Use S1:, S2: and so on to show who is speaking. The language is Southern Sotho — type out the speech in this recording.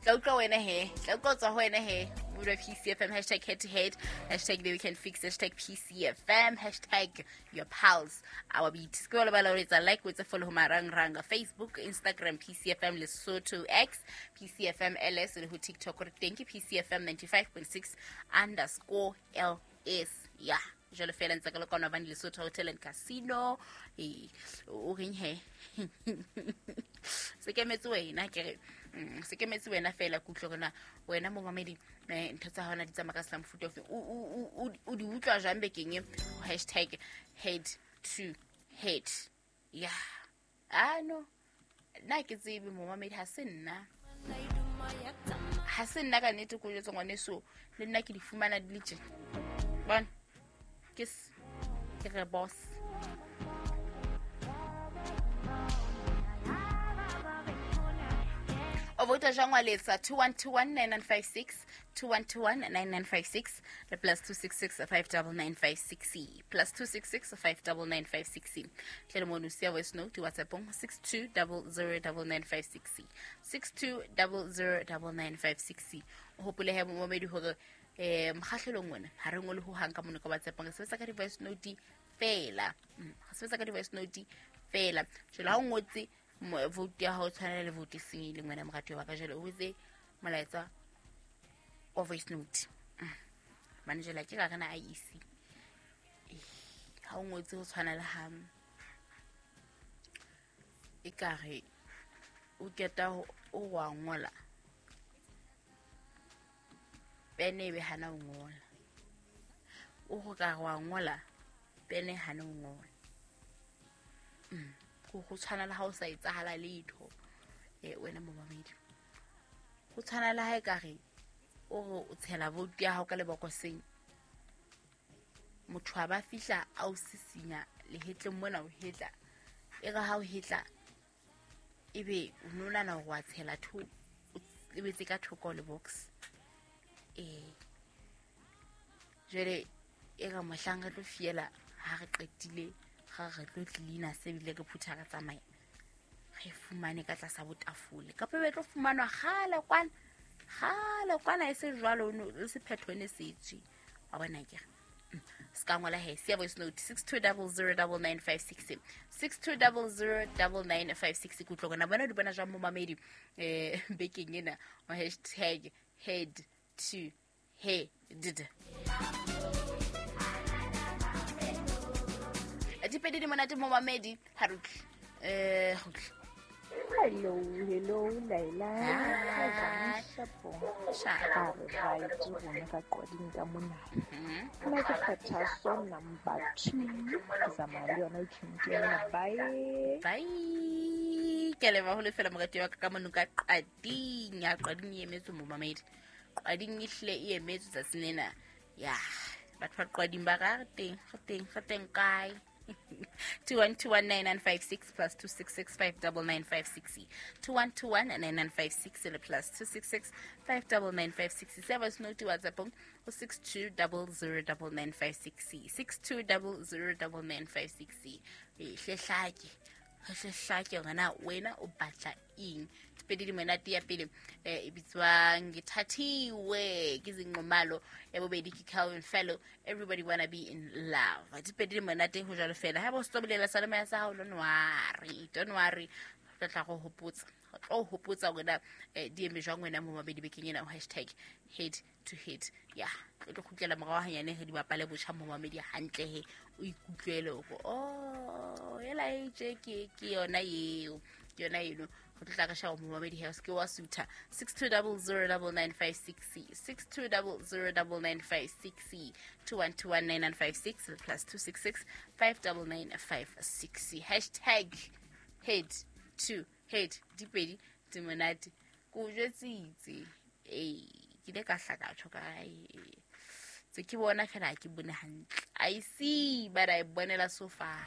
S1: Tla utlwa wena he, tla utlwa tswa ho wena he. Modwa PCFM, hashtag head to head, hashtag the weekend fix, hashtag PCFM, hashtag your pals our beat. Se ke wa lebala ho etsa like, o etse follow ho marangrang Facebook, Instagram, PCFM Lesotho, X, PCFM LS le ho TikTok re teng ke PCFM 95.6 underscore LS. Yeah. Jwalo fela ntse ka le kwana bane Lesotho Hotel and Casino. Eh, o reng he? Se kemetse wena ke re se kemetse wena fela ke utlwe rona wena momamedi ntho tsa hona di tsamaya ka sela mofuta ofe, o di utlwa jwang bekeng e hashtag head to head. Ya ah no, nna ke tsebe momamedi, ha se nna, ha se nna ka nnete ko jwetse ngwaneso, le nna ke di fumana di le tjena. Bona ke ke re boss. O vouta jwang wa letsa 21219956, 21219956 le plus 266 59956, plus 266 59956. Tle le mono siya voice note WhatsAppong 62009956, 62009956. O hopole he momamedi hore mokgahlelong ona ha re ngole ho hang ka mono ka WhatsAppong, re sebetsa ka di-voice note fela. Re sebetsa ka di-voice note fela. Jwale ha o ngotse vote ya hao tshwanela le vote e senyehileng wena moratuwa wa ka, jwale o etse molaetsa wa voice note. Hobane jwale ha ke ka rena IEC. Ha o ngotse ho tshwana le ha ekare o keta o wa ngola pene ebe hana o ngola, o go ka wa ngola pene hana o ngola. Go tshwana le ha o sa etsahala letho wena momamedi, go tshwana le ha ekare o re o tshela vote ya hao ka lebokoseng, motho a ba fihla a o sisinya lehetleng mona, o hetla e re ha o hetla ebe o no nahana hore wa tshela tho, o lebetse ka thoko le box. Jwale e re mohlang re tlo fiela ha re qetile ga re tlo cleaner se bile re phutha re tsamaya, re fumane ka tlasa botafole kapa be tlo fumanwa kgale kwana, kgale kwana e se jwalo, le sephetho ne se tswe wa bona ke re. Se ka ngola he, siya voice note 62009956, 62009956. Ke utlwa gona bona di bona jwang momamedi bekeng ena o hashtag head to head. Dipedi di monate momamedi, ha re utlwe. Re utlwe.
S2: Hello, hello, Laila.
S1: Hi.
S2: Shapo.
S1: Sharp.
S2: Ha re right rona ka Qwading ka mona. Nna ke kgetha song number 2. Ke tsamaya le yona weekend ena. Bye.
S1: Bye. Ke a leboha ho lefela morati wa ka ka mono ka Qwading. Ya Qwading e emetswe momamedi. Qwading e hlile e emetswe tsatsing lena. Ya, batho ba Qwading ba re teng, re teng, re teng kae? 21219956 plus 266 59956, 21219956 le plus 266 59956. Se voice note WhatsApp ho 62009956, 62009956. Hlehlake hlehlake hore wena o batla eng. Pedi di monate, ya pele e bitswang Ngithathiwe ke Zinqumalo, ya bobedi ke Calvin Fellow, Everybody Wanna Be in Love. Dipedi di monate ho jwalo fela. Ha bo se bolela sa le sa hao, don't worry, don't worry, re tla go hopotsa, re tlo hopotsa hore na di eme jwang wena momamedi bekeng ena hashtag head to head. Ya re tlo kgutlela morao hanyane re di bapale botjha momamedi hantle he o ikutlwele hore oh ela e tje ke yona eo, ke yona eno. Re tlo tla ka shaba momamedi he, o se ke wa sutha. 62009956, 62009956, 21219956 plus 266 59956, hashtag head to head. Dipedi di monate, ko o jwetsitse. Ee, ke ile ka hla ka tjho ka tse ke bona fela ha ke bone hantle. I see, but I bonela so far.